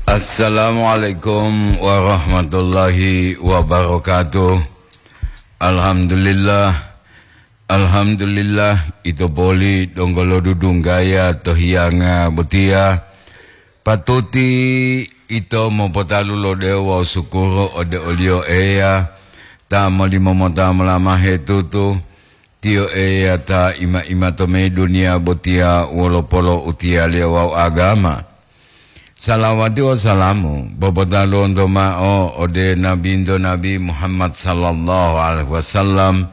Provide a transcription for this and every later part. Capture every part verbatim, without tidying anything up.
Assalamualaikum warahmatullahi wabarakatuh. Alhamdulillah. Alhamdulillah, ito poli donggo lodudunggaya to hiyanga botiya. Patuti ito mopotalu lo dewo wawu sukuru ode oliyo Eya, ta molimomota molamahe tutu. Tiyo Eya ta ima-ima to meyi duniya botiya wolo polo utiyaliyo wawu agama. Salawati wawu salamu popotaluwonto ma'o ode Nabinto Nabi Muhammad sallallahu alaihi wasallam.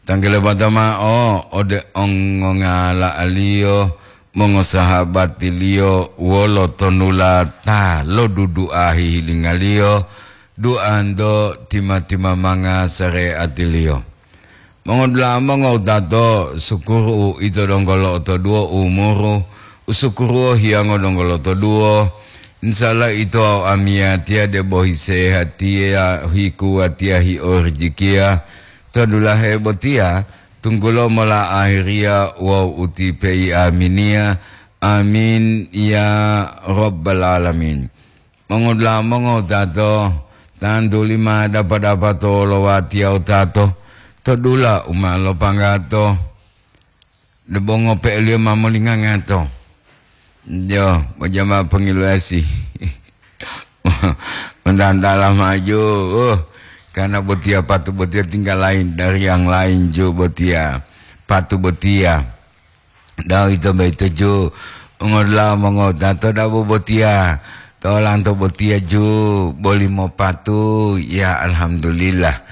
Tanggelebata ma'o ode ongongala'aliyo, mongosahabatiliyo wolo tonula ta lodudu'a hihilinga-Liyo, duanto tima-timamanga sare'ati-Liyo. Mongodula'a mongowutato, sukuru ito donggo lo'otoduwo umuru, usukuruwo hiyango donggo lo'otoduwo. Insya Allah ito wawu amiyatiya debo hisehatiya, hikuwatiya, hiorijikiya to dulahe botiya, tunggulo mola ahiriya wawu utipeyi aminiya. Amin ya rabbal alamin. Mongodula'a mongowutato, tantuli ma dapa-dapa to wolowatiya wutato to dula u ma lopanggato, debo ngope'eliyo ma molingangato. Jo, pojama pongiluwasi. Mentantala maju, uh, karena botiya patu botiya tinggal lain dari yang lain ju botiya. Patu botiya. Da'a uwito boyito ju, ngodula'a mongowutato dabo botiya, to olanto botiya ju, boli mopatu, ya alhamdulillah.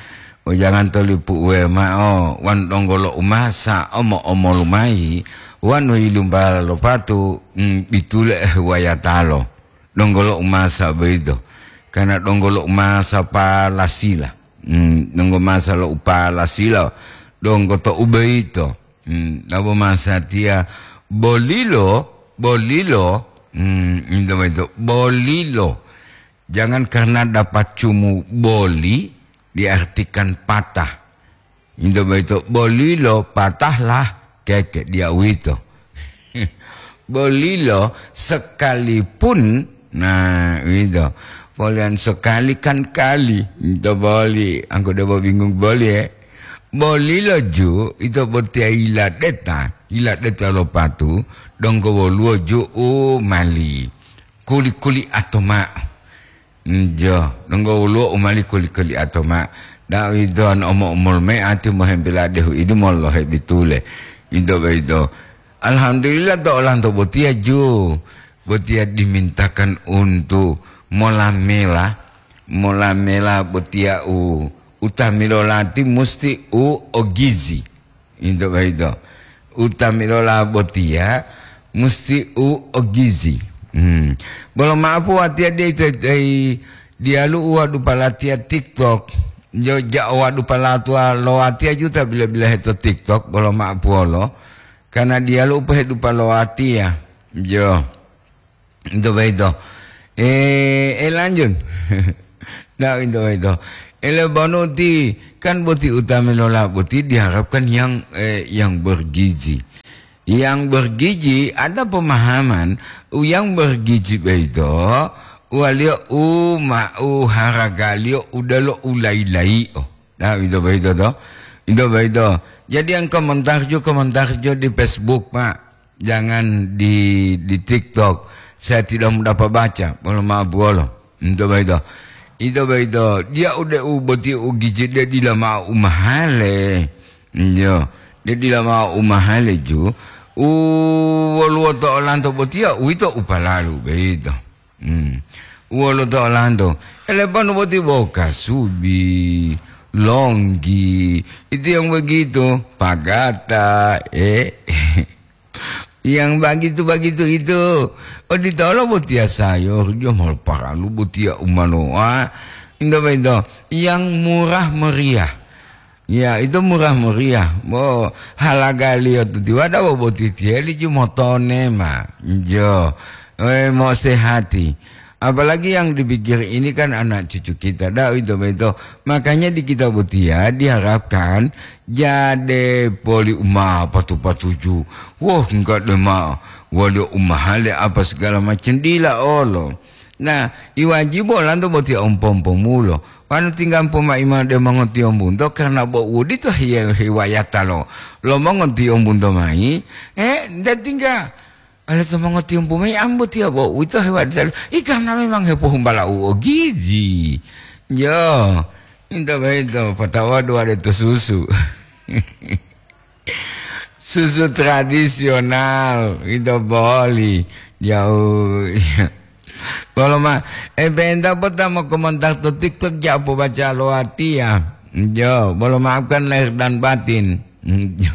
Wejanganto lipu uwe ma'o, wonu donggo lo umasa omo-omolu mayi, wonu yilumbala lo patu, mm, bitule, eh, wayatalo. Donggo lo umasa boyito. Karena donggo lo umasa palasila. Mm, donggo masa lo upalasila, donggo to uboyito. Hmm, nabo masatiya bolilo, bolilo, hmm, into boyito, bolilo. Jangan karena dapat cumu boli diartikan patah. Into boyito, bolilo patahlah keke, diya uwito. Bolilo sekalipun, nah, uwito. Poliyan sekali kan kali, into boli, angko debo bingung boli, eh. Bolilo ju, ito botiya yiladeta, yiladeta lo patu, donggo woluwo ju u mali kuli-kuli ato ma'o. Njo, donggo woluwo u mali kuli-kuli ato ma'o. Da'a uwito an omo-omolu mayi ati mohembela dehu idi mololohe bitule. Into boyito. Alhamdulillah to olanto botiya ju, botiya dimintakan untu molamela, molamela botiya u, utamilolati musti u o gizi. Into boyito. Utamilola botiya musti u o gizi. Hmm. Bolo ma'o po watiya de ito-itoyi diyalu u wadupa latiya TikTok. Jo ja'o wadupa latuwa lo watiya juta bila-bila heto TikTok, bolo ma'o puwolo. Karena diyalu u pohedupa lo watiya. Jo. Into boyito. Eh, eh, lanjut. Nah, into boyito. Ele bonu ti, kan boti utamilola boti diharapkan yang, eh, yang bergizi. Yang bergizi ada pemahaman, u yang bergizi boyito, uwaliyo u ma-, u haragaliyo udalo u layi-layi'o. Nah, into boyito to. Into boyito. Jadi yang komentar jo, komentar jo di Facebook, Pak. Jangan di, di TikTok. Saya tidak dapat baca. Mohon maaf, bolo. Into boyito. Into boyito. Diya ude u boti u gizi de dila ma'o u mahale. Iyo. De dila ma'o u mahale ju. U woluwo to olanto botiya, uwito u palalu boyito. Hmm. Wolo to olanto. Eleponu boti bo kasubi, longgi, itu yang begitu, pagata, eh. Yang begitu-begitu itu. Oditolo botiya sayur, dia mau paralu botiya umanoa. Indomaito, yang murah meriah. Ya, itu murah meriah. Bo, halagaliyo tutiwada bo botitiyeli ju motone ma. Jo. Eh, mo sehati. Apalagi yang dipikir ini kan anak cucu kita. Da, itu beto. Makanya di kita botiya diharapkan jade poli uma patu-patuju. Wah, enggak deh ma. Wali umahale apa segala macam dila olo. Nah, iwajibu olanto botiya umpo-umpomulo. Wanu tinggampo mayi mao de mongotiyombunto, karna bo uwodito hiye-, hiwayata lo, lo mongotiyombunto mayi, eh, nda tingga ale to mongotiyombu mayi ambo tiya bo uwito hiwayata lo, i karna memang hepohumbala u ogiji. Yo, into boyito, patawadu wade to susu. Susu tradisional, ito boli. Jauh. Bolo ma, eh, penta pota mo komentar to TikTok, ja pobaca lo watiya. Jo, bolo maafkan lahir dan batin. Jo.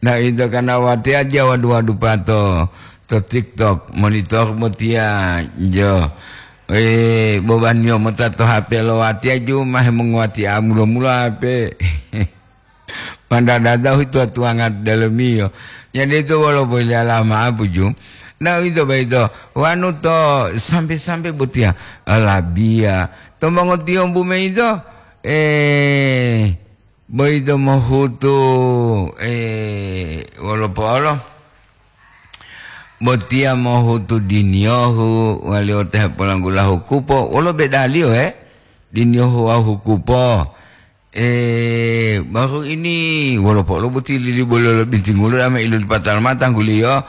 Nah, ito karena watiya ja wadu-wadu pato to TikTok, monitor botiya. Jo. Eh, bobaniyo mota to H P lo watiya ju ma hemonguwatiya mulo-mulo H P. Mandadada uwito tuwanga dalemiyo. Jadi ito wolo boyilala ma'o puju. Na uwito boyito, wanu to sambe-sambe botiya, labiya. To mongotiyombu mayi ito, eh, boyito mohutu, eh, wolo po'olo. Botiya mohutu diniyohu, waliyo ta hepolanggulahu kupo. Wolo bedaliyo, eh? Diniyohu wawu hukupo. Eh, baru ini wolopo lo boti lili bolo lo bintingulo dama ilu lipatala mata tangguliyo.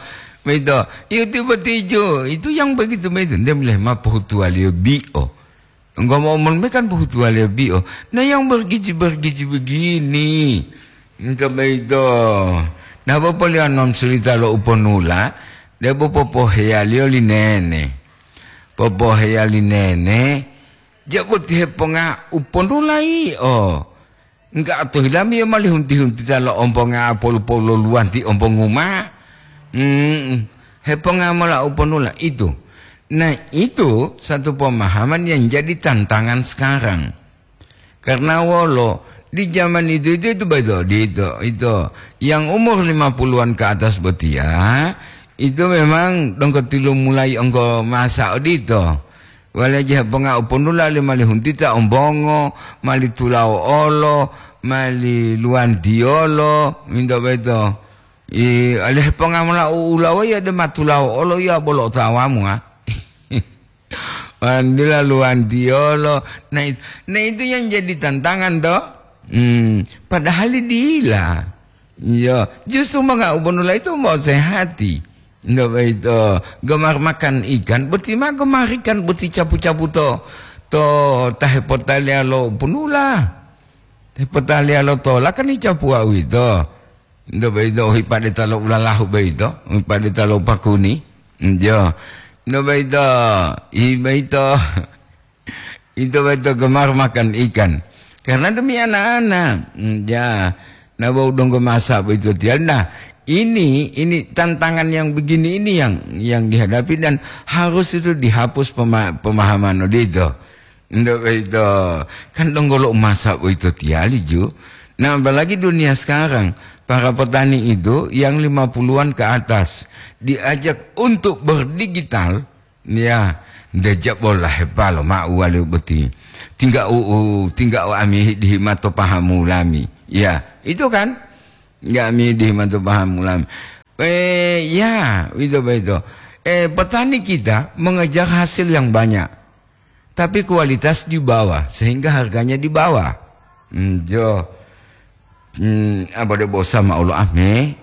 Begitu. Iyo tiba tijo. Itu yang begitu begitu. Dia mulai ma pohutuwaliyo bio. Enggak mau men kan pohutuwaliyo bio. Nah, yang bergizi-bergizi begini. Enggak begitu. Nah, bapak lihat non cerita lo uponula. Dia bapak poheyaliyo linene. Popoheya li nene, ja boti heponga u ponula yio. Enggak to hilami yio mali hunti-huntita lo omponga polu-polu lo luwanti ompongu ma. Hmm, heponga mola u ponula itu. Nah, itu satu pemahaman yang jadi tantangan sekarang. Karena wolo, di zaman itu, itu, itu betul, di itu, itu. Yang umur lima puluhan ke atas botia, itu memang donggo tilu mulai onggo masa odito. Wale je ponga u ponula li mali huntita ombongo, mali tulao olo, mali luwantiolo, minto beto. I, ale ponga mola u ulawa ya de matulao olo ya bolo otawamu, ah. Wandila luwantiyolo. Nah, it-, nah, itu yang jadi tantangan, toh. Hmm, padahal dila. Iya, justru manga'u ponula itu mau sehati. Nggak begitu. Gemar makan ikan, boti ma gemar ikan, boti capu-capu to, to tahe potaliya lo punula. Tahe potaliya lo tola kan icapu wau itu. Nto boyito u hipade ta lo ulalahu boyito, u hipade ta lo pakuni. Njo. Nto boyito, i boyito, ito boyito gemar makan ikan. Karena demi anak-anak. Mm, ya. Nah, bau donggo masa boyito tial. Nah, ini, ini tantangan yang begini ini yang, yang dihadapi dan harus itu dihapus pema-, pemahaman odito. Ndak boyito, kan donggo lo umasa boyito tiyali, ju. Nah, apalagi dunia sekarang, para petani itu yang lima puluhan ke atas diajak untuk berdigital, ya, ndak jabo lahepalo ma'u wali boti. Tingga u, u, tingga u ami dihimato pahamu lami. Ya, itu kan? Nggak ami dihimato pahamu lami. Eh, ya, itu boyito. Eh, petani kita mengejar hasil yang banyak. Tapi kualitas di bawah, sehingga harganya di bawah. Hmm, jo. Hmm, apa de bosa ma olo ame?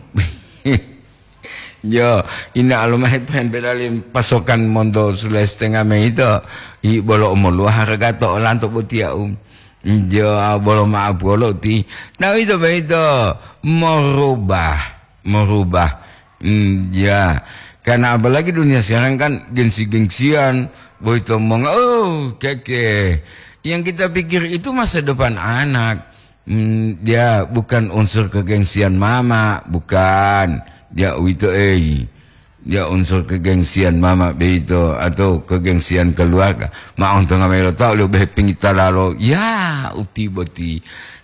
Jo, ina alo mahe pen belali pasokan monto Sulawesi Tengah me ito. I bolo omoluwa harga to olanto botiya, um. Jo, bolo maaf bolo ti. Nah, itu boyito merubah, merubah. Hmm, ya. Karena apalagi dunia sekarang kan gengsi-gengsian, boyito monga, oh, keke. Yang kita pikir itu masa depan anak. Hmm, dia bukan unsur kegengsian mama, bukan. Dia uwito, ei. Dia unsur kegengsian mama beito atau kegengsian keluarga. Ma ontonga melo tau leo behe pingita lalo. Ya, uti boti.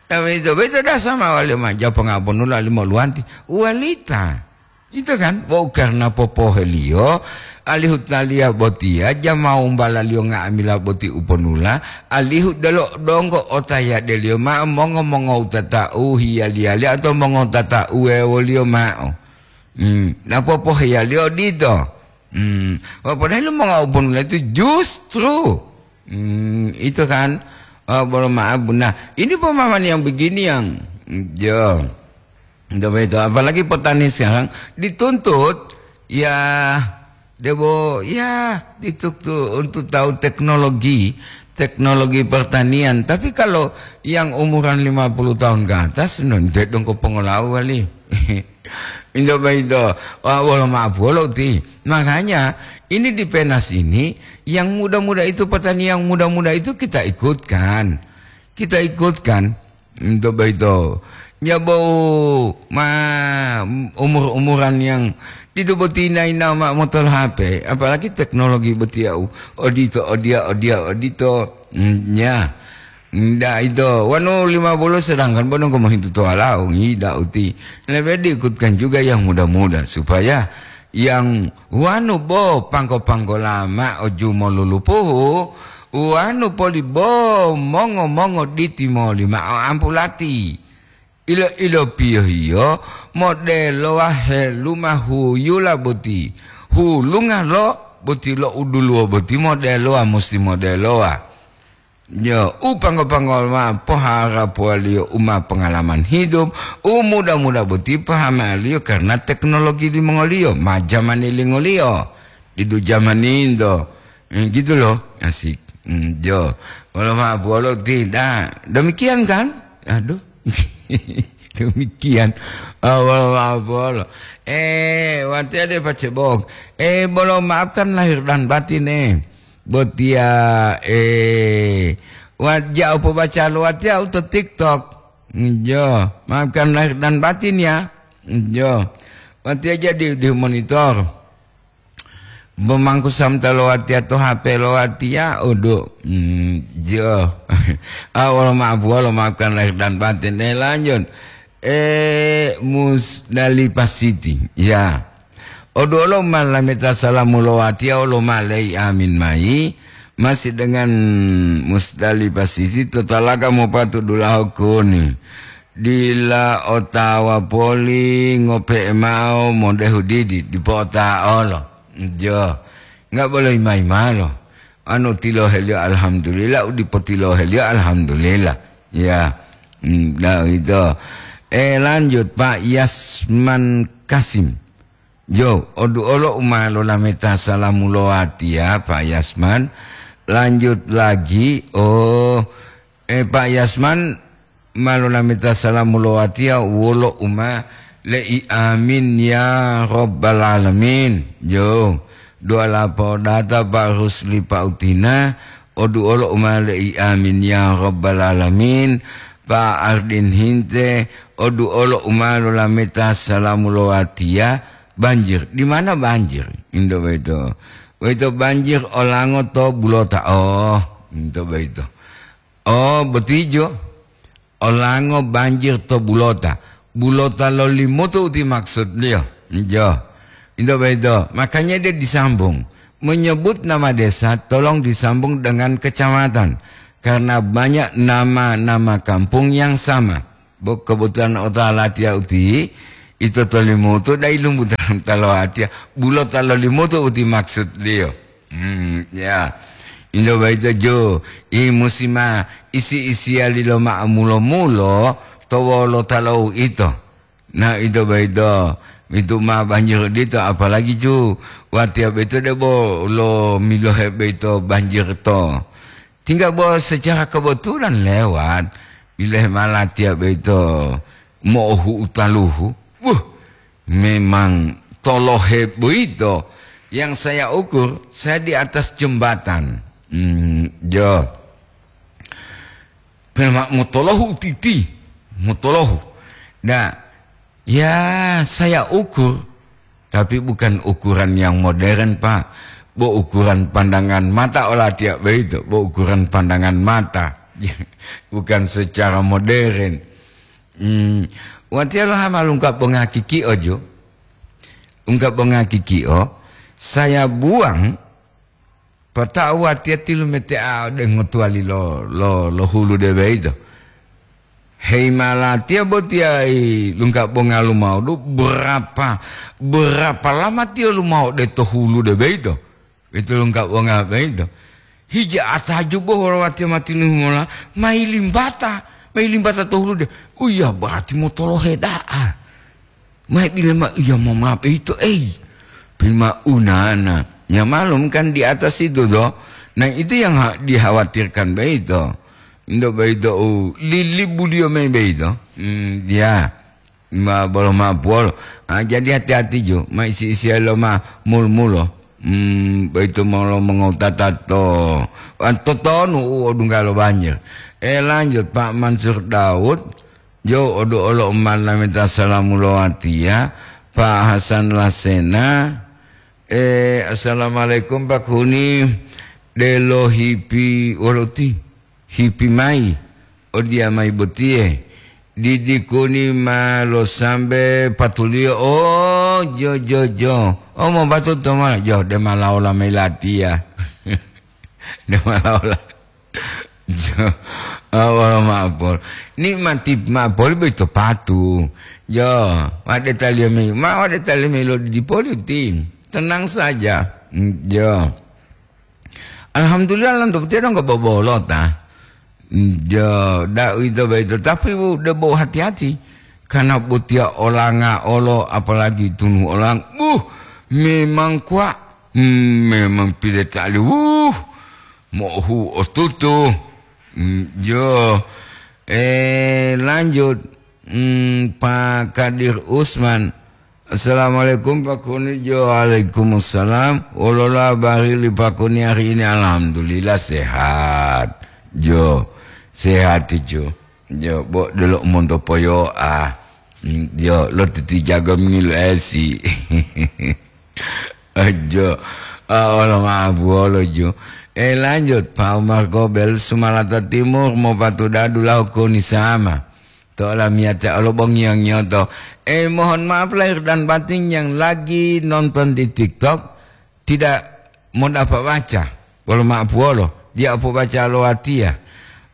Nah, beito, beito dasama wali ma japo ngaponu lali mo luwanti. Uwalita. Itu kan, bo karena popoheliyo, alihu taliya botiya, jamau umbalaliyo nga'amila boti uponula, alihu delo donggo otayadeliyo ma'o mongo-mongo utata'u hiyaliyali atau mongo utata'u wewoliyo ma'o. Hmm, napopoheyaliyo odito. Hmm, wah, padahal lo monga'u pun itu justru, hmm, itu kan, oh, bolo maaf. Nah, ini pemahaman yang begini yang, ya, coba itu. Apalagi petani sekarang dituntut, ya, debo, ya, dituntut untuk tahu teknologi, teknologi pertanian. Tapi kalau yang umuran lima puluh tahun ke atas, non, dia dong ko pengolahan wali. Indo boyito, wa-, wolo ma'o polo ti. Makanya, ini di Penas ini, yang muda-muda itu, petani yang muda-muda itu kita ikutkan. Kita ikutkan. Indo boyito. Nyabo ma umur-umuran yang didu boti naina ma motol H P, apalagi teknologi boti yau. Odito, odia, odia, odito. Mm, ya. Nda ito, wanu lima puluh sedangkan bonong ko mohintu to walao, ngida uti. Lebe diikutkan juga yang muda-muda supaya yang wanu bo pangko-pangko lama oju molulupuhu, wanu poli bo mongo-mongo diti moli ma'o ampulati. Ilo-ilo piyohiyo modelowa heluma huyula boti. Hulunga lo boti lo uduluwo boti modelowa musti modelowa. Yo, u panggo-panggo ma poharapuwaliyo u ma pengalaman hidup, u muda-muda boti pahamaliyo karena teknologi limongoliyo, ma jamani lingoliyo. Didu jamaninto. Hmm, gitu loh, asik. Hmm, jo. Wolo ma bolo tidak. Demikian kan? Aduh. Demikian. Ah, wolo ma bolo. Eh, wati ada pacebok. Eh, bolo maafkan lahir dan batin, eh. Botia, eh, wa-, ja'u pobaca lo watiya u to TikTok. Jo, maafkan lahir dan batin ya. Jo. Watiya jadi di monitor. Bomangku samta lo watiya to H P lo watiya, udu. Hmm, jo. Ah, wolo maaf, wolo maafkan lahir dan batin. Eh, lanjut. Eh, Musdalifah City. Ya. Oduolo ma lameta salamu lo watiya olo ma lei amin mayi, masih dengan Musdalifah City to talaga mopatu dulaho kuni. Dila otawa poli ngope'e ma'o modehu didi, dipo ota'olo. Jo, nggak boleh ima-imalo. Anu tiloheliyo alhamdulillah, u dipo tiloheliyo alhamdulillah. Ya, hmm, nah itu. Eh, lanjut, Pak Yasman Kasim. Jo, oduolo u ma lolameta salamu lo watiya, Pak Yasman. Lanjut lagi, oh, eh, Pak Yasman, ma lolameta salamu lo watiya wolo u ma le'i amin ya rabbal alamin. Jo, doa lapodata Pak Rusli Pak Utina, oduolo u ma le'i amin ya rabbal alamin. Pak Ardin Hinte, oduolo u ma lolameta salamu lo watiya, banjir. Di mana banjir? Indo boyito. Boyito banjir olango to bulota. Oh, indo boyito. Oh, botijo. Olango banjir to bulota. Bulota lo Limutu uti maksudliyo. Jo. Indo boyito. Makanya dia disambung. Menyebut nama desa, tolong disambung dengan kecamatan. Karena banyak nama-nama kampung yang sama. Bo kebetulan otalatiya uti, ito to Limutu dai lumbu ta-, talowatiya. Bulota lo Limutu uti maksudliyo. Hmm, ya. Indo boyito jo, i musima isi-isiyali lo ma'o mulo-mulo to wolota lo uito. Nah, indo boyito, itu ma banjir dito, apalagi ju watiya boyito debo lo milohe boyito banjir to. Tinggal bo secara kebetulan lewat, bilohe ma latiya boyito mo'ohu utaluhu. Wuh, memang tolohe boyito yang saya ukur, saya di atas jembatan. Hmm, jo. Pema motolohu titi, motolohu. Nah, ya saya ukur, tapi bukan ukuran yang modern, Pak. Bo ukuran pandangan mata olatiya boyito, bo ukuran pandangan mata. Bukan secara modern. Hmm, watiya lo hama lungkap bonga kikio jo. Ungkap bonga kikio, saya buang, pata'u watiya tilumetea ode ngotuwali lo, lo, lo hulu de boyito. Hei malatiya botiya i lungka bonga lumao du, berapa, berapa lama tiyo lumao de to hulu de beito? Itu lungka bonga beito. Hija atajubo wolo watiya matinuhu mola, mai limbata, mai limbata to hulu de. Uya berarti motolohe da'a. Mai bile ma iya mama beito, ei. Pima unana. Ya malum kan di atas itu toh. Nah, itu yang ha-, dikhawatirkan beito. Ndo beito u lilibu dio mai beito. Hmm, ya. Ma bolo ma puolo. Ah, jadi hati-hati jo. Ma isi-isi lo ma mul-mulo. Hmm, beito molo mengotata to. Ah, totonu u odunggalo banjir. Eh, lanjut Pak Mansur Daud. Jo, odu olo umat lameta salamu lo watiya, Pak Hasan Lasena. Eh, assalamualaikum, Pak Huni. Delo hipi woloti, hipi mai. Odiya mai botiye. Didi kuni ma lo sambe patuliyo. Oh, jo, jo, jo. Oh, mau batu to ma. Jo, de ma laola mai latiya. De ma laola. Jo, awal ma'apol. Nikmati ma'apol boyito patu. Jo, wade taliyo mayi, ma wade taliyo mayi lo didi poli uti. Tenang saja. Jo. Alhamdulillah, lanto botiya donggo bobolota. Jo, da uwito boyito, tapi u debo hati-hati. Karena botiya olanga olo, apalagi tunu olang. Buh, memang kuwa. Hmm, memang pile tali. Wuh. Mo'ohu otutu. Mm, jo. Eh, lanjut. Mm, Pak Kadir Usman. Assalamualaikum, Pak Kuni. Jo, waalaikumsalam. Wolola habari li Pak Kuni hari ini? Alhamdulillah, sehat. Jo, sehat, jo. Jo, bo, delo monto poyo'a. Mm, jo, lo titi jago mingil esi. Ajo, ah, olo ma'abuwolo ju. Eh, lanjut, Pak Umar Gobel, Sumalata Timur, mopatuda dulahu koni sama. To olamiyatiya olo bongiyo-ngiyoto. Eh, mohon maaf lahir dan batin yang lagi nonton di TikTok, tidak mau dapat baca. Wolo ma'abuwolo, dia opo baca lo watiya.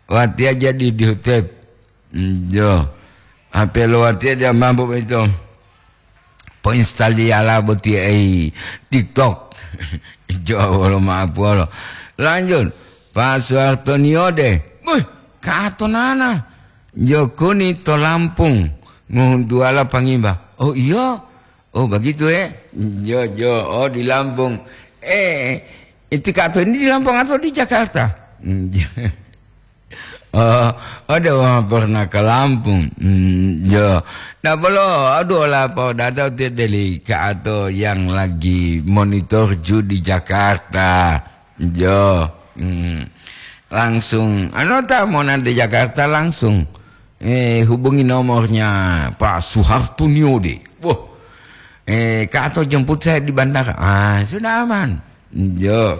Watiya jadi di hutep. Njo. H P lo watiya dia mampu beto. Poinstaliyala boti ei TikTok. Jo, wolo ma'apuwolo. Lanjut, Pak Suharto Niode. Wih, kato nana. Jokoni to Lampung. Ngohuntuwala pangimba. Oh, iya. Oh, begitu, eh? Jo, jo. Oh, di Lampung. Eh, itu kato ini di Lampung atau di Jakarta? Oh, ada wong pernah ke Lampung. Hmm, jo. Nah, bolo, aduh, ola pa data uti deli ka atau yang lagi monitor ju di Jakarta. Jo. Hmm. Langsung, anu ta mau nanti Jakarta langsung. Eh, hubungi nomornya Pak Suharto Niode. Wah. Eh, ka atau jemput saya di bandara. Ah, sudah aman. Jo.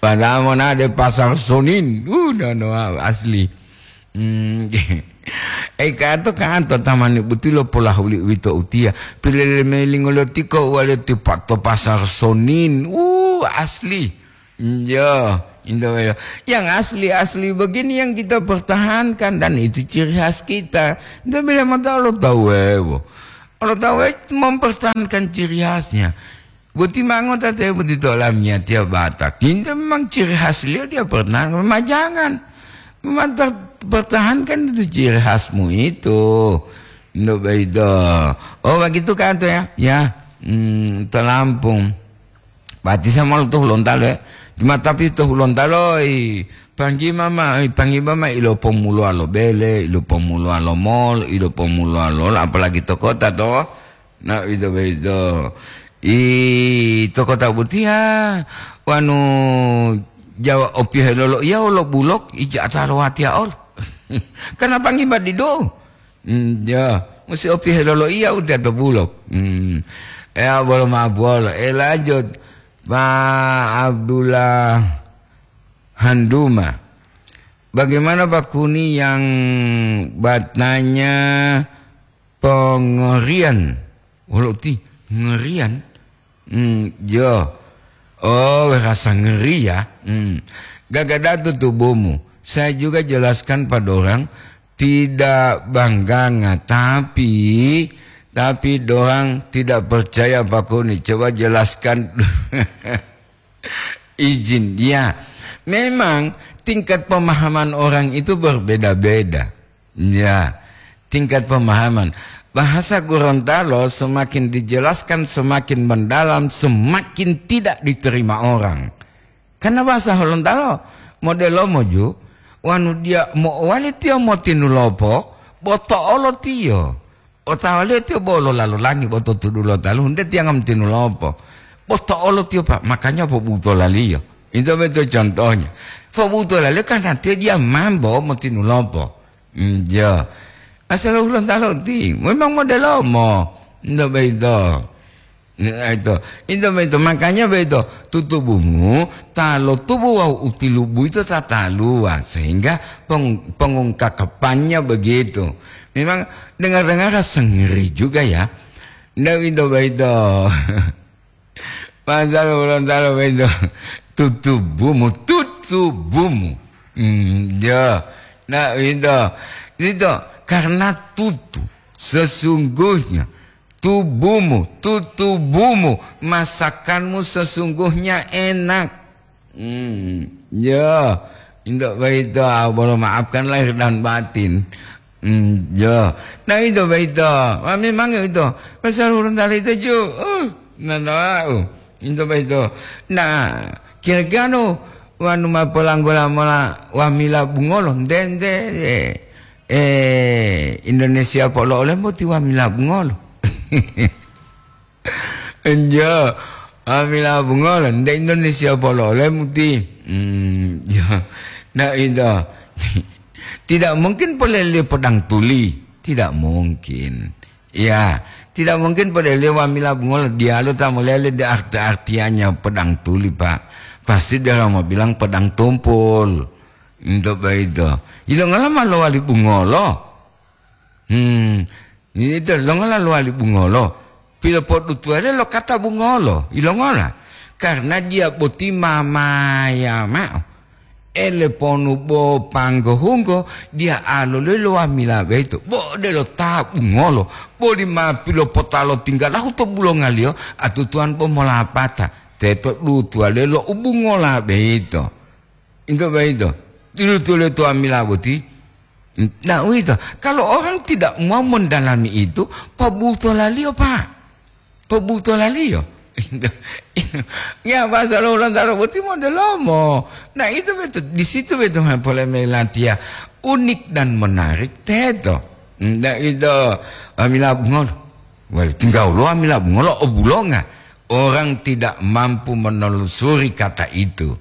Padahal monade pasar Sonin. Uh, no, no, asli. Hmm. Eh, kato, kato, tamani butilo polahuli uwito utiya. Pilele melingolo tiko wale tipa to pasar Sonin. Uh, asli. Iya, indah ya. Yang asli-asli begini yang kita pertahankan dan itu ciri khas kita. Ndak bila mata Allah tahu, eh, bo. Allah tahu, eh, mempertahankan ciri khasnya. Boti mango tate boti to olamiyatiya Batak. Ini memang ciri khas beliau, dia pernah memajangan. Memang ter-, pertahankan itu ciri khasmu itu. Ndak begitu. Oh, begitu kan tuh ya? Ya. Hmm, to Lampung. Pati sama lo tuh lontal ya. Cuma tapi tuh lontal oi. Panggi mama, oi, panggi mama ilo pomuluwa lo bele, ilo pomuluwa lo mall, ilo pomuluwa lo, apalagi to kota to. Nah, itu begitu. I to kota butiya, wanu Jawa opihe lolo iya olo bulok, ija ataro watiya ol. Karena panggi badido. Hmm, ya, musi opihe lolo iya udah to bulok. Hmm. Ya, bolo ma bolo. Eh, lanjut. Pak Abdullah Handuma. Bagaimana Pak Kuni yang batanya pengerian? Walau ti ngerian? Hmm, jo. Oh, rasa ngeri ya. Hmm. Gagadatu tubuhmu. Saya juga jelaskan pada orang, tidak bangganga, tapi, tapi dorang tidak percaya Pak Kuni. Coba jelaskan izin. Ya, memang tingkat pemahaman orang itu berbeda-beda. Ya, tingkat pemahaman. Bahasa Gorontalo semakin dijelaskan, semakin mendalam, semakin tidak diterima orang. Karena bahasa Gorontalo modelo moju, wanu dia mo'owali tiyo motinulopo, bo to'olo tiyo. Otawaliyo tiyo bo lolalu langi bo to tudu lo talu, hunde tiyanga motinulopo. Bo to'olo tiyo, Pak, makanya pobutolaliyo. Itu betul contohnya. Pobutolaliyo karena tiyo dia mambo motinulopo. Hmm, ya. Asal Gorontalo ti, memang modelomo. Ndak begitu. Nah, itu. Itu begitu. Makanya begitu. Tutubumu, ta lo tubu wawu utilubu itu ta taluwa. Sehingga peng-, pengungkakapannya begitu. Memang dengar-dengar rasa ngeri juga ya. Ndak begitu, begitu. Pasal Gorontalo begitu. Tutubumu, tutubumu. Hmm, ya. Nah, itu. Itu karena tutu. Sesungguhnya tubumu, tutubumu, masakanmu sesungguhnya enak. Hmm, ya. Indak begitu, ah, bolo maafkan lahir dan batin. Hmm, ya. Nah, itu begitu. Wah, memang itu. Pasal Gorontalo itu ju. Uh, nah, nah, uh. Itu begitu. Nah, kira-kira nu wanu ma polanggola mola wamila bungolo, nde, nde, eh, eh, Indonesia polo olemu ti wamila bungolo. Enjo, wamila bungolo, nde Indonesia polo olemu ti. Hmm, ya. Nah, itu. Tidak mungkin polele podang tuli. Tidak mungkin. Ya, tidak mungkin podele wamila bungolo diyalu ta molele de arti-artiannya podang tuli, Pak. Pasti dia mau bilang podang tumpul. Untuk begitu. Ilongala ma lowali bungolo. Hmm, itu longola lowali bungolo. Pilopodutuwaliyo lo kata bungolo. Ilongola? Karena dia boti mamaya mao. Ele ponu bo panggohunggo, dia aloloi lo wamila boyito. Bo odelo ta bungolo, boli ma pilopotalo tinggalahu to bulongaliyo, atutuwan bo molapata. Teto dutuwaliyo lo u bungola boyito. Into boyito. Dutuwaliyo to wamila boti. Nah, uwito. Kalau orang tidak mau mendalami itu, pabutolaliyo, Pak. Pabutolaliyo. Ya, bahasa lo Gorontalo boti modelomo. Nah, itu betul. Di situ betul polemic latiya. Unik dan menarik, teto. Ndak itu, amila bungolo. Wali, tinggal lo amila bungolo, obulonga. Orang tidak mampu menelusuri kata itu.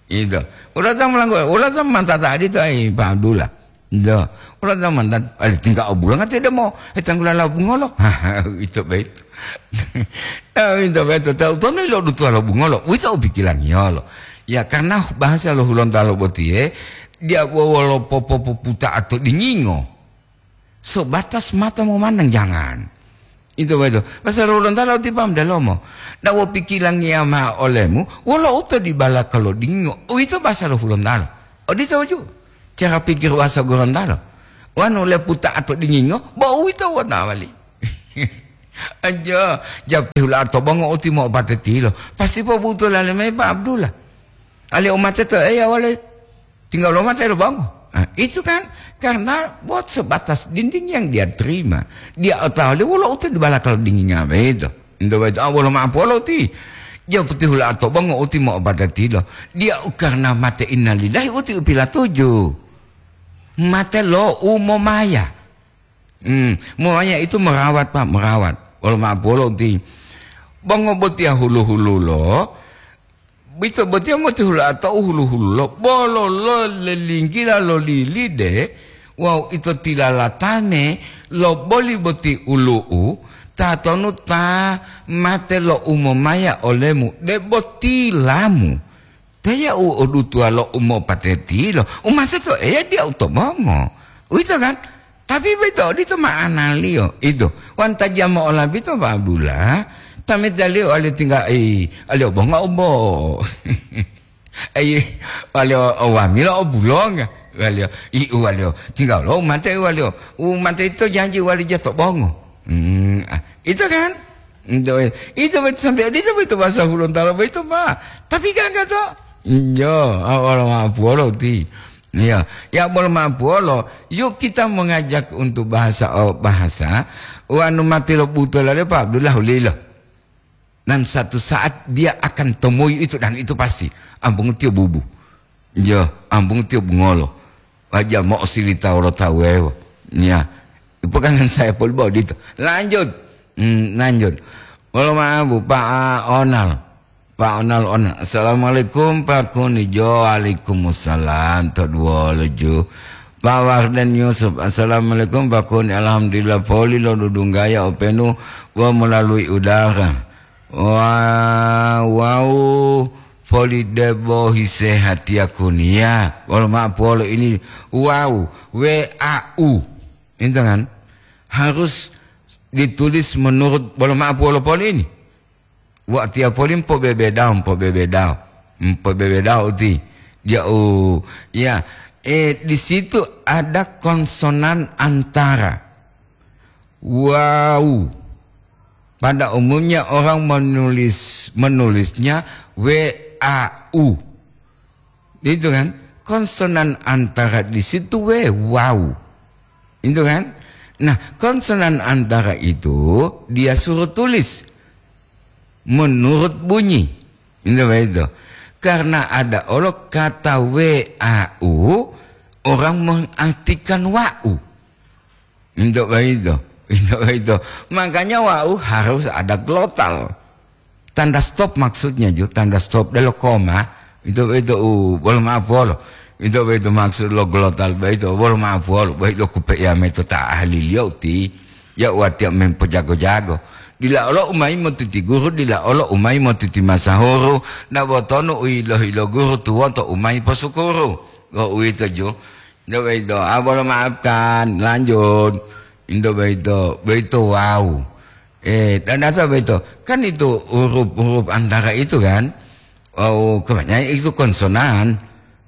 Itu. Ula ta malanggo, ula ta mantata adito ai Pak Abdullah. Ndo, ula ta mantata, ali tingga obulonga tidak mau, eh, tanggula la bungolo. Itu baik. Ah, itu baik. Tahu, tahu nih lo dutua lo bungolo. Wita ubikilangiyolo. Ya, karena bahasa lo Gorontalo botiye, dia wolo popopuputa atau dingingo. Sebatas mata memandang, jangan. Itu betul. Pasal Gorontalo ti paham dalomo. Ndak wopikilangiya ma'o olemu, wolo uto dibala kalodingo. Uwito basa lo Gorontalo. Odito ju. Cara pikir basa Gorontalo. Wanu leputa atau dingingo, bo uwito wona wali. Aja, japi hula to bongo uti mo pateti lo. Pasti pobuto lale mai Pak Abdullah. Ali umate to eya wale. Tinggal lo mate lo bango. Nah, itu kan karena buat sebatas dinding yang dia terima. Dia otawa wolo uti di balakal dindingnya begitu. Itu begitu. Ah, wolo ma'o polo ti. Dia putih hula atau bango uti mau pada tilo. Dia karena mate innalillahi uti upila tuju. Mate lo umomaya. Hmm, momaya itu merawat, Pak, merawat. Wolo ma'o polo ti. Bango botia hulu-hulu lo. Ito botiya motihula atau hulu-hululo, bolo lo lelinggila lo lilide, wawu ito tilalatame lo boli boti ulu'u, tatonu ta mate lo umomaya olemu, debo tilamu. Teya u odutuwa lo umopatetilo, umate to Eya diya u to mongo. Uwito kan? Tapi boyito odito ma'analiyo, ito. Wanta jamo olabito Pak Abdullah, tamitaliyo ali tingga, i, ali obonga obo. Ayi, ali o, o wamila obulonga. Waliyo, i uwaliyo, tingga lo umate uwaliyo. Umate ito janji uwali ja to bongo. Hmm, ah, ito kan? Ito, ito boyito sampai odito boyito bahasa Hulontalo boyito, Pak. Tapi gaga to? Iyo, awal maapuwolo ti. Iya, ya bolo maapuwolo, yuk kita mengajak untuk bahasa, oh, bahasa, wanu mati lo buto lale, Pak Abdullah ulilo. Dan satu saat dia akan temui itu, dan itu pasti. Ambung tiyo bubu. Iya, ambung tiyo bungolo. Waja mo'osilita wolo tawu wuwewo. Iya. Ipokangan saya poli bo odito. Lanjut. Hmm, lanjut. Wolo ma'abu, Pak Onal. Pak Onal, Onal. Assalamualaikum, Pak Kuni. Jo, waalaikumsalam. To duwolo ju. Pak Warden Yusuf. Assalamualaikum, Pak Kuni. Alhamdulillah, poli lo dudunggaya openu wa melalui udara. Wa-, wau poli debo hisehatiya kuniya. Wolo ma'apuwolo ini wau, W A U. Itu kan? Harus ditulis menurut, wolo ma'apuwolo poli ini. Watiya poli mpobebedao, mpobebedao. Mpobebedao uti. Dia, oh, ya, eh, di situ ada konsonan antara wau. Pada umumnya orang menulis, menulisnya W A U. Itu kan? Konsonan antara di situ W, wau. Itu kan? Nah, konsonan antara itu dia suruh tulis menurut bunyi. Itu begitu. Karena ada olo kata W A U, orang mengartikan wau. Untuk begitu. Untuk begitu. Makanya wau harus ada glotal. Tanda stop maksudnya, ju, tanda stop, delo koma. Itu, itu, uh, bolo maaf, bolo. Itu, itu maksud lo glotal, ba itu, bolo maaf, bolo. Ba itu kupe ya meto ta ahli liyo ti. Ya watiya mempojago-jago. Dila olo umai motiti guru, dila olo umai motiti masahuru. Na botonu u ilo-ilo guru tuwoto umai posukuru. Lo uwito, ju. Into boyito, ah, bolo maafkan, lanjut. Into boyito, boyito wau. Eh, dan apa boyito? Kan itu huruf-huruf antara itu kan. Wau, kebanyakan itu konsonan.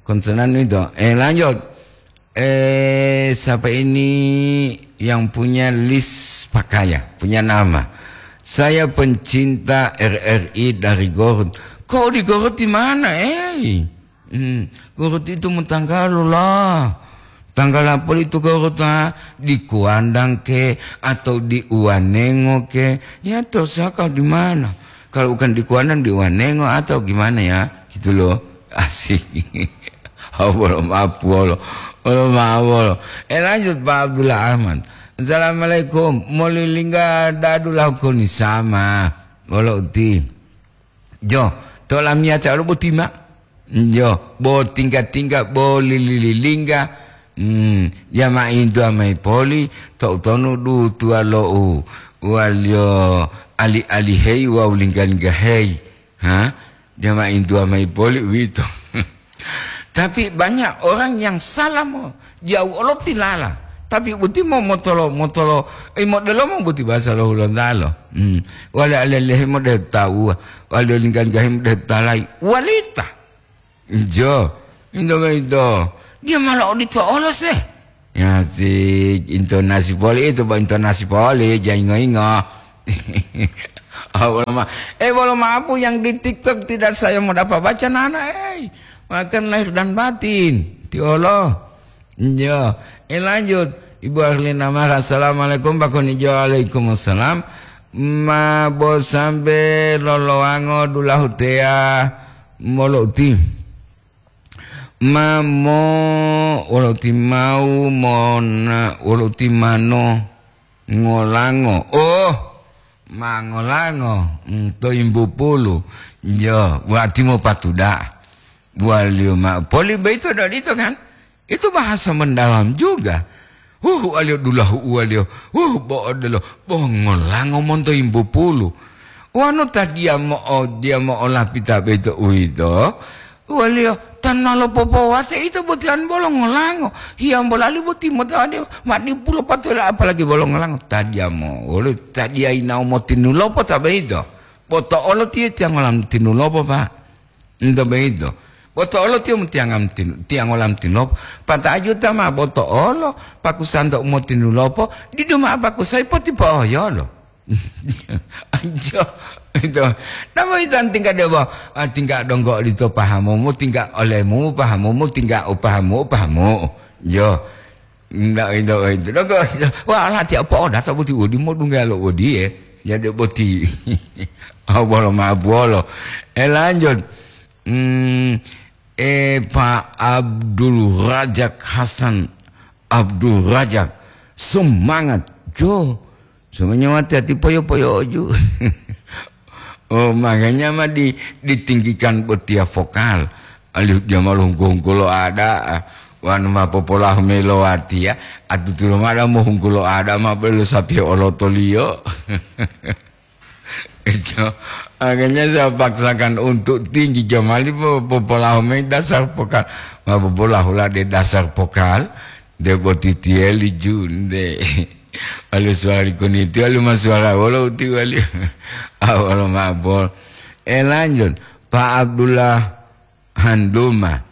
Konsonan itu. Eh, lanjut. Eh, siapa ini yang punya list pakaian, punya nama? Saya pencinta R R I dari Garut. Kok di Garut di mana, eh? Hmm, Garut itu mo tanggalu lah. Tanggal apa itu Garut, ah? Di Kuandang ke, atau di Uanengo ke? Ya, terserah kau di mana. Kalau bukan di Kuandang, di Uanengo atau gimana ya? Gitu loh. Asik. Oh, bolo maaf, bolo. Bolo maaf, bolo. Eh, lanjut, Pak Abdullah Ahmad. Assalamualaikum. Molilingga dadu lau koni sama. Bolo uti. Jo, to lamiyata olo boti ma. Jo, bo tingga-tingga, bo lili-lilingga. Hmm, ya ma intu amai poli, to utonu du tuwa lo u, waliyo ali-alihei wawu lingga-linggaheyi. Ha? Ya ma intu amai poli uwito. Tapi banyak orang yang salah mo. Jauh olo tilala. Tapi boti mo motolo, motolo, eh, modelomo boti bahasa lo Hulontalo. Hmm. Wale alelehe mo de tawa. Wale linggan-gahi mo de talai. Walita. Ijo. Indo, indo. Dia malah odito olo se. Ya, si intonasi poli itu, Pak, intonasi poli, jangan ingo-ingo. Oh, bolo ma-, eh, bolo maaf, yang di TikTok tidak saya mau dapat baca, nana, eh. Makan lahir dan batin. Ti Allah. Iya. Eh, lanjut. Ibu Arlina Mara, "Assalamualaikum, Pak Konijo." "Waalaikumsalam." Ma bo sambe lolowango dulahu teya molo uti. Ma mo wolo uti mau mona wolo uti mano ngolango. Oh, ma ngolango, mm, to imbu pulu. Iya, wati mo patuda. Waliyo ma poli beito dodito kan? Itu bahasa mendalam juga. Huh, waliyo dulahu uwaliyo. Huh, bo odelo, bo ngolango monto imbu pulu. Wanu ta diya mo'o, diya mo'olapita boyito uwito, waliyo ta nalo popowase ito boti an bolo ngolango. Hiyambo lali boti mota ode ma dipulo patola apalagi bolo ngolango. Ta diya mo'o, waliyo ta diya yinawo motinulopo ta boyito. Poto olo tiye tiyangolam tinulopo, Pak. Ento boyito. Boto'olo tiyo mutiyangam tin-, tiyangolam tinlopo. Pata'a juta ma boto'olo, pakusanto u motinulopo, didu mao pakusayi potipo'oyolo. Anjo, ito. Namo ito tingka debo, ah, tingka donggo odito pahamumu, tingka olemu pahamumu, tingka u pahamu, u pahamu. Yo. Ndak ito, ito. Donggo, wah, lati apa oda, tak boti udi, mau dungga lo udi, eh. Jadi boti. Oh, bolo ma bolo. Eh, lanjut. Hmm, eh, Pak Abdul Razak Hasan, Abdul Razak, semangat, Jo. Semuanya mati hati poyo-poyoju. Oh, makanya ma di-, ditinggikan botiya vokal. Alihu dia malu hunggu-hunggu lo ada, wanu ma popolahu melo watiya, atutulo mada mo hunggu lo ada ma belo sapi olotoliyo. Itu, akhirnya saya paksakan untuk tinggi, jamali po-, popolahu mayi dasar pokal. Ma popolahu la de dasar pokal, de boti tiyeli ju, de. Alu suwari kuniti, alu ma suwara wolo uti wali. Awalo mabol. Eh, lanjut. Pak Abdullah Handuma.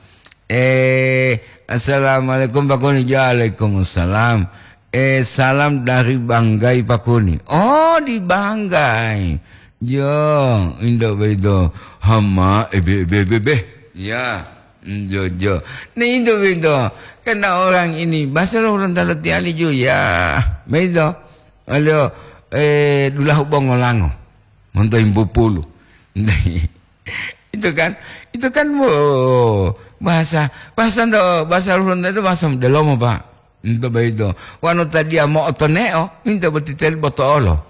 Eh, assalamualaikum, Pak Kuni. Waalaikumsalam. Eh, salam dari Banggai, Pak Kuni. Oh, di Banggai. Yo, indak begitu. Hama, ebe, ebe, ebe, ebe. Ya, mm, jo, jo. Nah, itu begitu. Karena orang ini, bahasa lo orang talo tiali ju, ya. Begitu. Alio, eh, dulahu bongolango. Monto imbu pulu. Itu kan, itu kan, wo, bahasa, bahasa ndo, bahasa Hulunta itu bahasa delomo, Pak. Ento boyito. Wanu ta dia mo'otoneo, ento boti teli boto'olo.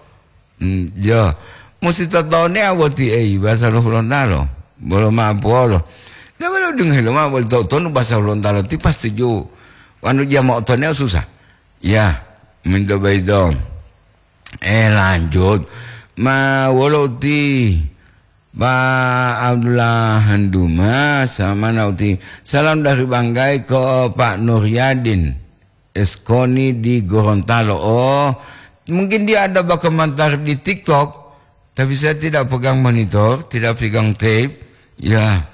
Hmm, yo. Musi totonea boti ei, bahasa lo Hulontalo. Bolo ma'apuwolo. Dia bolo dungohe lomao boli to'otonu bahasa Hulontalo ti pasti ju. Wanu dia mo'otoneo susah. Ya, minto boyito. Eh, lanjut. Ma wolo uti? Pak Abdullah Handuma, sama na uti. Salam dari Banggai ke Pak Nuryadin Eskoni di Gorontalo. Oh, mungkin dia ada berkomentar di TikTok, tapi saya tidak pegang monitor, tidak pegang tape. Ya,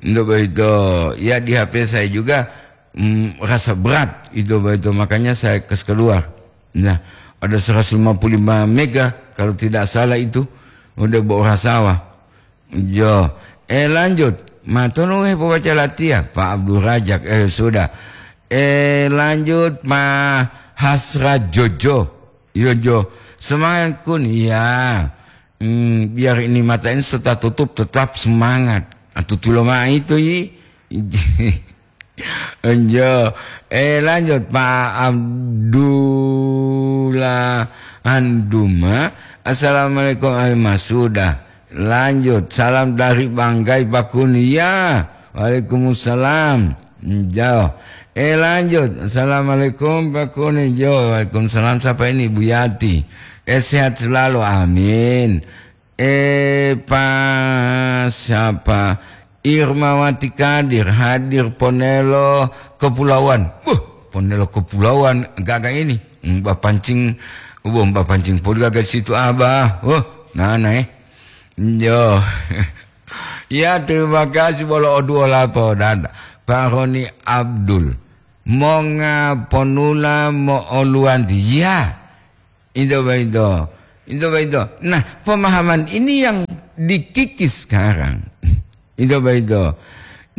untuk begitu, ya di H P saya juga, mm, rasa berat itu begitu, makanya saya kes keluar. Nah, ada seratus lima puluh lima mega kalau tidak salah itu, udah bawa sawah. Jo, eh, lanjut. Matonu, eh, pobaca latiya, Pak Abdul Rajak, eh, sudah. Eh, lanjut, Ma Hasra Jojo. Yo, Jo. Semangat kun, iya. Hmm, biar ini mata ini sudah tutup, tetap semangat. Atu tulo ma itu, yi. Enjo. Eh, lanjut, Pak Abdullah Anduma. Assalamualaikum, Alma. Sudah. Lanjut. Salam dari Banggai, Pak Kuni. Ya. Waalaikumsalam. Enjo. Eh, lanjut. Assalamualaikum, Pak Kuni. Jo. Waalaikumsalam. Siapa ini? Bu Yati. Eh, sehat selalu. Amin. Eh, Pak siapa? Irmawati Kadir hadir ponelo kepulauan. Buh, ponelo kepulauan gaga ini. Mbak pancing, buh, mbak pancing poli gaga situ, Abah. Wah, nana, eh. Yo. Ya, terima kasih bolo oduo lapo dan Pak Roni Abdul. Monga ponula mo'oluwanti. Ya. Itu begitu. Itu begitu. Nah, pemahaman ini yang dikikis sekarang. Itu begitu.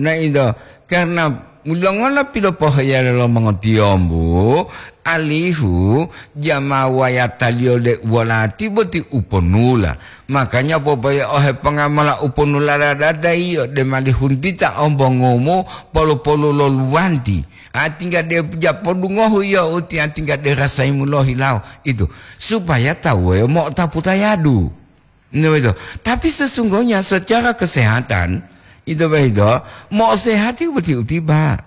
Nah, itu karena mulongola pilopoheyalo lo mongotiyombu, alihu jamawayataliyo de uwolati boti uponula. Makanya popoye ohe pongamola uponula dadada iyo de malihuntita ombongumu polu-polu lo luwanti. Atingga de japodungohu iyo uti, atingga de rasaimu lohilawo. Itu. Supaya tawu wuwewo mo'otapu tayadu. Itu begitu. Tapi sesungguhnya secara kesehatan, itu begitu, mau sehat itu betul tiba.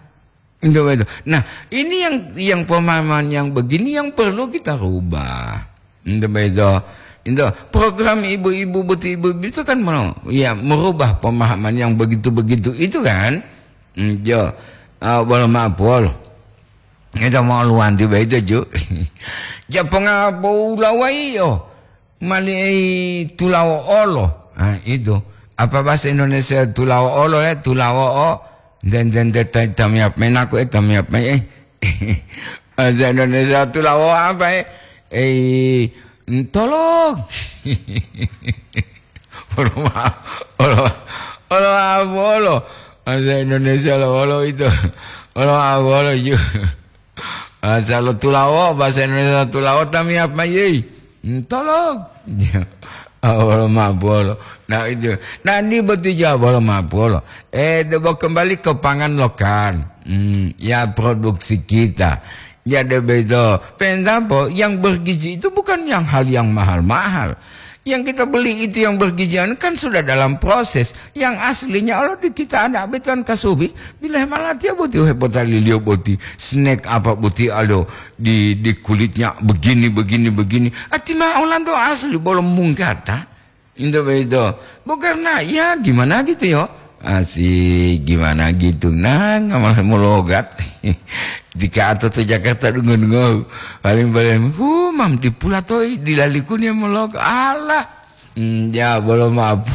Itu begitu. Nah, ini yang, yang pemahaman yang begini yang perlu kita rubah. Itu begitu. Itu program ibu-ibu, betul ibu-ibu itu kan mau, ya, merubah pemahaman yang begitu-begitu itu kan. Hmm, jo. Ah, bolo ma'apol. Ito mo'oluwanti boyito, ju. Japonga bo ulawa iyo. Mali ei tulawo olo. Ah, itu. Apa bahasa Indonesia tulawo olo, ya? Tulawo o. Nde, nde, nde, ta-, tamiyap mayi naku, eh, tamiyap mayi, eh. Bahasa Indonesia tulawo apa, eh? Eh, ntolong. Olo ma-, olo, olo ma-, olo. Bahasa Indonesia lo olo itu. Olo ma-, olo ju. Bahasa lo tulawo, bahasa Indonesia tulawo tamiyap mayi. Ntolong. Awolo ma'o buwolo. Nah, itu. Nah, ini boti jawab wolo ma'o buwolo. Eh, debo kembali ke pangan lokan. Hmm, ya, produksi kita. Ya, debo itu. Pendapo, yang bergizi itu bukan yang hal yang mahal-mahal. Yang kita beli itu yang bergizi kan sudah dalam proses. Yang aslinya Allah di kita anak beton kasubi. Bila malatiya boti hepotaliliyo boti. Snack apa boti alo di, di kulitnya begini, begini, begini. Ati ma olanto asli bolo munggata. Into begitu. Bukan, nah, ya gimana gitu yo. Asik, gimana gitu. Nah, ngamal mologat. Dika ato to Jakarta dungo-dungo. Paling-paling, hu, mam dipulatoi, dilalikuni mologat. Alah. Hmm, ya, bolo maaf.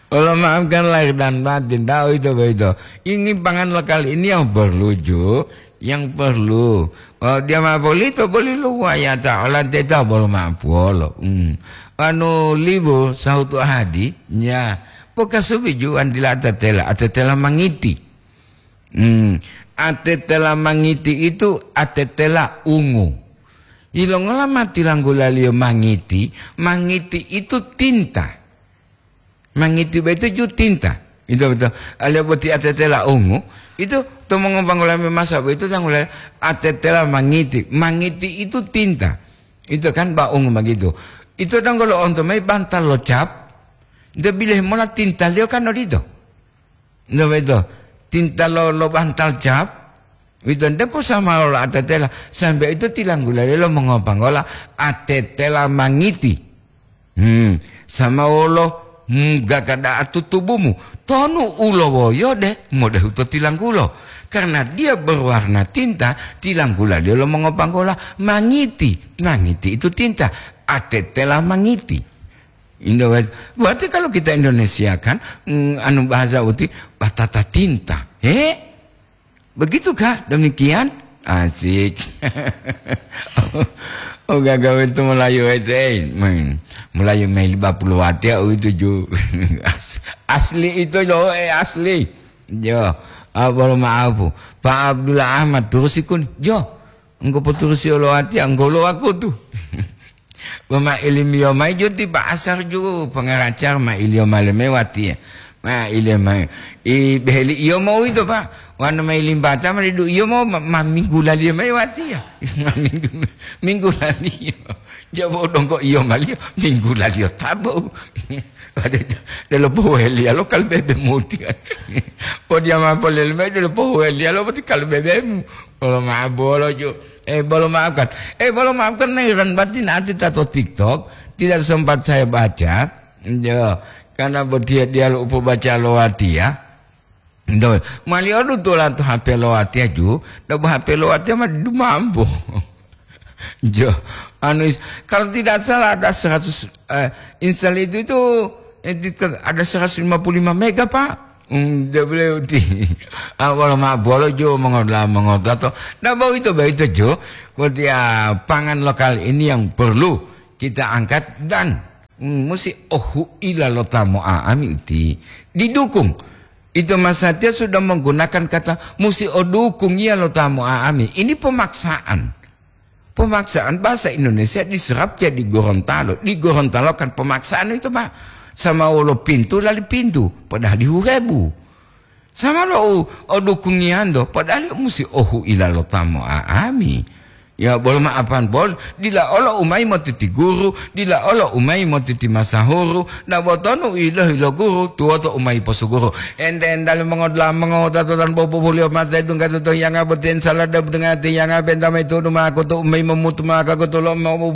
Allah maafkan lahir dan batin, tahu itu begitu. Ini pangan lokal ini yang perlu, Ju, yang perlu. Kalau dia mau beli itu beli lu wayata, ola teta bolo maaf wolo. Hmm. Anu libu sahutu hadi, ya. Pokasubi juan dila atetela, atetela mangiti. Hmm. Atetela mangiti itu atetela ungu. Ilongola ma tilanggulaliyo mangiti? Mangiti itu tinta. Mangiti boyito ju tinta. Itu betul. Aliyo boti atetela ungu, itu to mongobanggula memasa boyito tanggula atetela mangiti. Mangiti itu tinta. Itu kan ba ungu begitu. Itu donggo lo'onto mayi bantal lo cap, nte bilehe mola tintaliyo kan odito. Nte boyito, tinta lo, lo bantal cap, Wito nte posama lo atetela, sambe ito tilanggula lelo mongopanggola atetela mangiti. Hmm, sama wolo mugaka da'a tutubumu, tonu ulowoyo de modehu to tilanggulo. Karena dia berwarna tinta, tilanggula dia lo mongopanggola mangiti. Mangiti itu tinta, atetela mangiti. Indo-, berarti kalau kita Indonesia kan, mm, anu bahasa uti batata tinta. Eh? Begitukah demikian? Asik. Oh, gagawe itu Melayu itu, eh, main. Melayu main lima puluh wati ya, oh, itu ju. As-, asli itu loh, eh, asli. Jo, apa lo maaf? Pak Abdullah Ahmad terusikun. Jo, engko poturusi lo wati, engko lo aku tu. Wama ilimiyo mayi jo ti ba'asar ju pangaracar ma iliyo male mayi watiya. Ma iliyo mayi. I beheli iyo mo uwito, Pak. Wanu mayi limbata ma didu iyo mo ma, ma minggu laliyo mayi watiya. Ma minggu, minggu laliyo. Jabo dongko iyo maliyo, minggu laliyo tabo. Wadu, delo poheliya lo kalbebe muti. Podiya ma polele mayi delo poheliya lo poti kalbebemu. Bolo maaf bolo ju. Eh, bolo maafkan. Eh, bolo maafkan, nairan batin ati tato TikTok. Tidak sempat saya baca. Yo, karena botiya diyalu upobaca lo watiya. Ndo, mali odu tola to H P lo watiya ju, dabo H P lo watiya ma dumambo. Jo, anu is-, kalau tidak salah ada seratus, eh, install itu, itu, itu ke-, ada seratus lima puluh lima mega, Pak. Hmm, dia beliau ti-, ah, wala ma bolo jo mongola mongotato. Nah, bau itu, bau itu jo. Berarti, ah, pangan lokal ini yang perlu kita angkat dan, hmm, musi ohu ila lo tamu ami uti didukung. Itu Mas Satya sudah menggunakan kata musi odukung iya lo tamu ami. Ini pemaksaan. Pemaksaan bahasa Indonesia diserap jadi Gorontalo. Di Gorontalo kan pemaksaan itu, Pak. Sama wolo pintu lali pintu, padahal dihuhebu. Sama lo u-, odukungiyanto, padahal musi ohu ila lo tamu ami. Ya, bolo maafan bol, dila olo umai motiti guru, dila olo umai motiti masahuru, na botonu ilohi lo guru, tuwoto umai posuguru. Ente entali mongodula mongowutato tan bobubuliyo mate dungga to hiyanga boti ensala debdunga ti hiyanga benta mayi tudu ma'o kutu umai momutu ma'o kakutulo mo